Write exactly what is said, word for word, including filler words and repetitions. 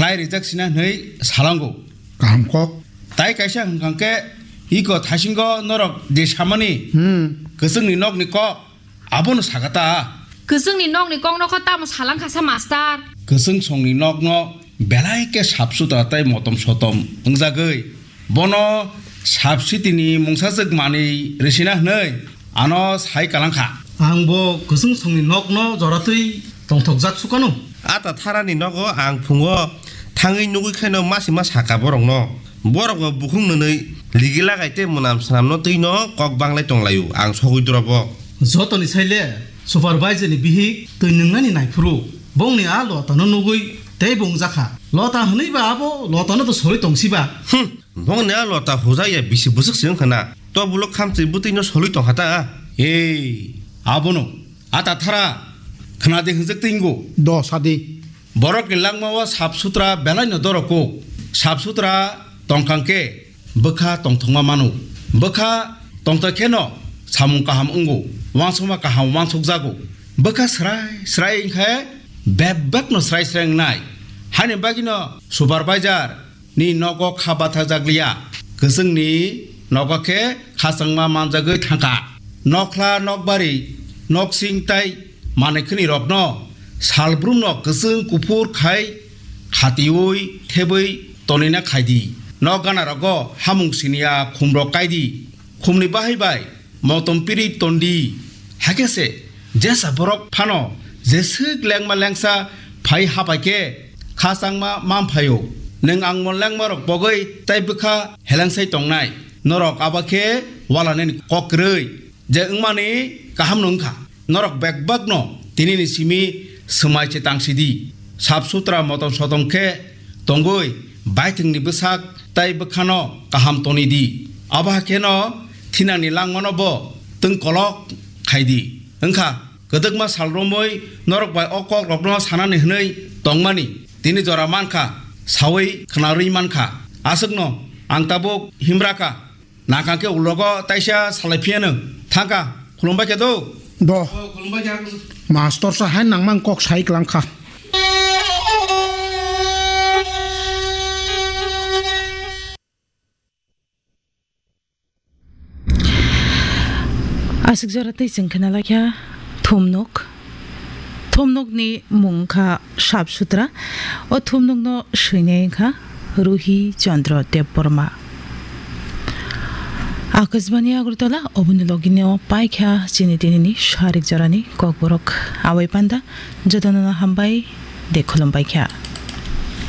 khlai rijak sina hwnwi salango. Kaham kok. Tai kaisa hwnkha khe iko thaisingo norok je samani Hmm. kwchwngni nokni kok abono sakha ta. Kwchwngni nokni kokno kho tamo salang kha sa, master? Kwchwng songni nokno belai khe sap sutra tei motom sotom wngjagwi bono sap sitini mungsajwk manwi rwsina hwnwi ano sai kalang kha. Ang bo kwchwng songni nokno joratwi tongthokjak sukano. A ta tharani nogo ang phungo thangwi nugwi khaino masi ma saka borokno. Borok bo bukhuk nwnwi ligi lagai tei mwnam swnamno twino kok banglai tonglaio, ang sogwi dorobo. Jotoni saile supervisor ni bihik twi nwngnani naiphuru bongni a lotano nugwi tei bo wngjakha. Lota hwnwi ba abo lotano to sori tongsiba. Hmm, bongni a lota hujaya bisi bwswk se wngkha na. To bulo khamchwi bwtwino solwi tongkha ta. Ei, abono a ta thara khna de hwnjak tei wngo. Do sadi. Borokni langmao sap sutra belaino dorok kuk. Sap sutra tongkang khe bwkha tongthokma mano. Bwkha tongthok kheno samung kaham wngo, uansukma kaham uansukjago. Bwkha srai srai wngkhe bebakno srai srai wngnai. Haini bagwino supervisor ni nogo kha bathajak liya. Kwchwngni nogo khe khachangma manjagwi thangkha. Nokhla, nokbari, noksing tai manwi khwnwi rokno salbrumno kwchwng kuphur khai khatiui thebwi tonina khaidi. Nok gana rogo hamung siniya khumrok kaidi. Khumni bahai bai motom piri tondi. Hakhe se jesa borok phano jeswk lengma lengsa phai hapai khe khachangma man phaio. Nwng angmo lengma rok bogwi tai bwkha helengsai tongnai. Norok abo khe walanani kok kwrwi je wngmani kaham no wngkha. Norok bebakno tinini simi swmai se tangsidi. Sap sutra motom sotom khe tongwi baithwngni bwsak tai bwkhano kaham tonidi. Abo hai kheno thinangni langmano bo twng kolok khaidi. Wngkha kwdwkma sal romwi norok bai o kok rokno sanani hwnwi tongmani tini jora mankha, sawi khwnarwi mankha. Aswkno ang tabuk himra kha. Nakha khe ulogo taisa salai phiyano. Thangkha, khulumbai khe do. Do. O, khulumbai khe. Master sa hai nangmang kok sai klang kha. Aswk jora tei chwng khna lai kha thumnuk. Thumnukni mung wngkha Sap Sutra. O thumnukno swinai wngkha Ruhi Chandra Debbarma. Akashbani Agartala, oboni logino paikha chini tinini sarik jorani kokborok. Awai panda, jotono hambai de khulumbai kha.